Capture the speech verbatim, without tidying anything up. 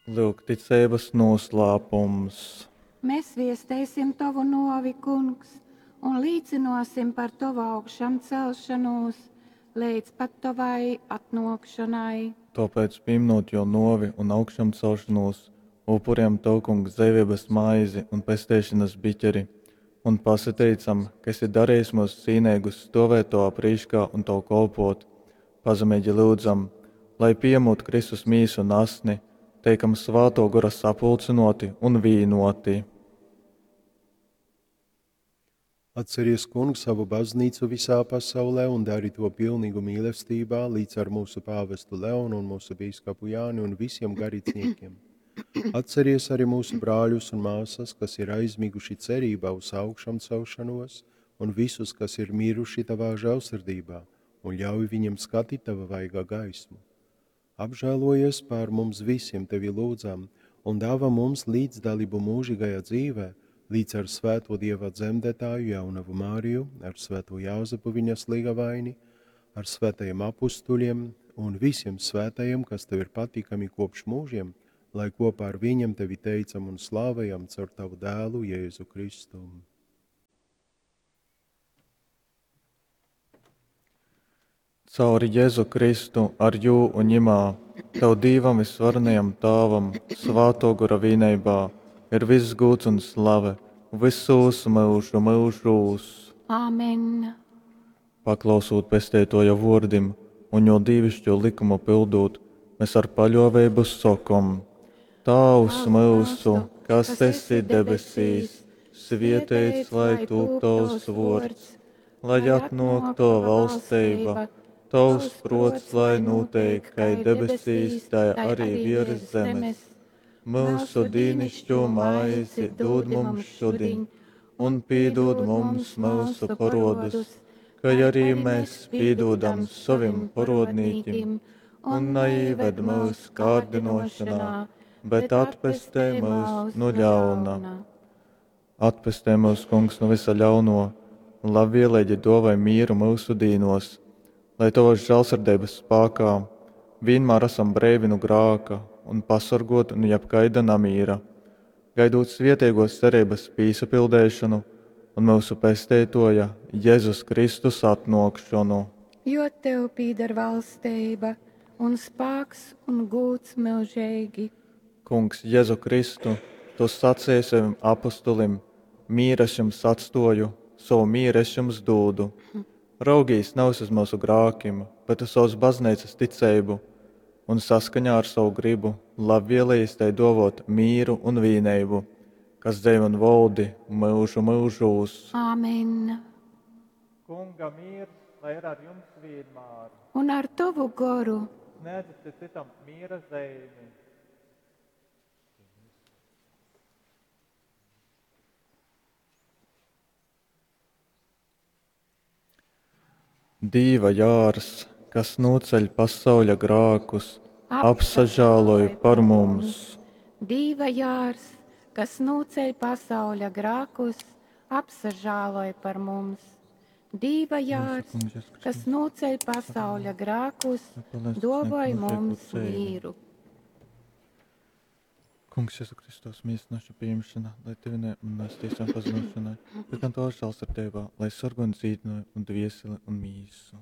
Lyuk ticeibas nūslāpums. Mēs viesteisim tovu nōvi, Kungs, un līcynōsim par tovu augšamcelšonūs leidz pat tovai atnōkšonai. Tōpēc, pīmynūt Jō nōvi un augšamcelšonūs, upurejam Tev, Kungs, dzeiveibas maizi un pesteišonas biķeri un pasateicam, ka esi darejis myus cīneigus stōvēt Tovā prīškā un Tev kolpōt. Pazemeigi lyudzam, lai, pījamūt Kristus mīsu un asni, teikam Svātō Gora sapulcynōti un vīnōti. Atceries, Kungs, savu baznīcu visā pasaulē un dari to pilnīgu mīlestībā līdz ar mūsu pāvestu Leonu un mūsu bīskapu Jāni un visiem garīdzniekiem. Atceries arī mūsu brāļus un māsas, kas ir aizmiguši cerībā uz augšamcelšanos, un visus, kas ir miruši tavā žēlsirdībā, un ļauj viņiem skatīt tava vaiga gaismu. Apžēlojies pār mums visiem, tevi lūdzam, un dāvā mums līdzdalību mūžīgajā dzīvē, līdz ar svēto Dieva dzemdētāju jaunavu Māriju, ar svēto Jāzepu viņas līgavaini, ar svētajiem apustuļiem un visiem svētajiem, kas tev ir patīkami kopš mūžiem, lai kopā ar viņiem tevi teicam un slavējam caur tavu dēlu Jēzu Kristu. Cauri Jēzu Kristu, ar jū un ņimā, Tev Dīvam visvarenajam Tāvam, Svātō Gora vīneibā, ir viss gūds un slave visūs myužu myužūs. Āmen. Paklausūt Pesteitōja vōrdim un jō dīvišķo likumu pildūt, mēs ar paļōveibu sokom: Tāvs myusu, kas esi debesīs, svieteits lai tūp tovs vōrds, lai atnōk tova valsteiba, tavs prōts lai nūteik kai debesīs, tai arī virs zemes. Mūsu dīnišķo maizi dod mums šodien, un piedod mums mūsu parodus, kā arī mēs piedodam savim parodnīkim, un neieved mūsu kārdinošanā, bet atpestē mūs no ļauna. Atpestē mūs, Kungs, no visa ļauno, un labvēlīgi dāvāj mieru mūsu dīnos, lai tavas žēlsirdības spēkā vienmēr esam breivi no grāka un pasargoti no jebkaida namīra, gaidot svietiegos cerības pīsapildēšanu un mūsu pesteitoja Jēzus Kristus atnākšanu. Jo tev pīder valsteiba un spāks un gūds mūžīgi. Kungs, Jēzu Kristu, tu sacīji saviem apustulim: mīru es jums atstoju, savu mīru es jums dūdu. Raugīs nevis uz mūsu grākim, bet uz savas baznīcas ticību, un saskaņā ar savu gribu labvēlījis tai dovot mīru un vīneibu, kas dzeiv un valdi mūžu mūžūs. Āmen. Kunga miers, lai ir ar jums vienmēr. Un ar tavu goru. Sniedziet citam miera zīmi. Dīva jārs, kas noceļ pasauļa grākus, apsažāloj par mums. Dīva jārs, kas noceļ pasauļa grākus, apsažāloj par mums. Dīva jārs, kas noceļ pasauļa grākus, dovoj mums mīru. Kungs, Jēzu Kristus, mīst naša pieņemšana, lai tevi ne un mēs tiesām pazinošanai, bet gan tavā žēlsirdībā, lai sargo un dzīdināja un dvieseli un mīsu.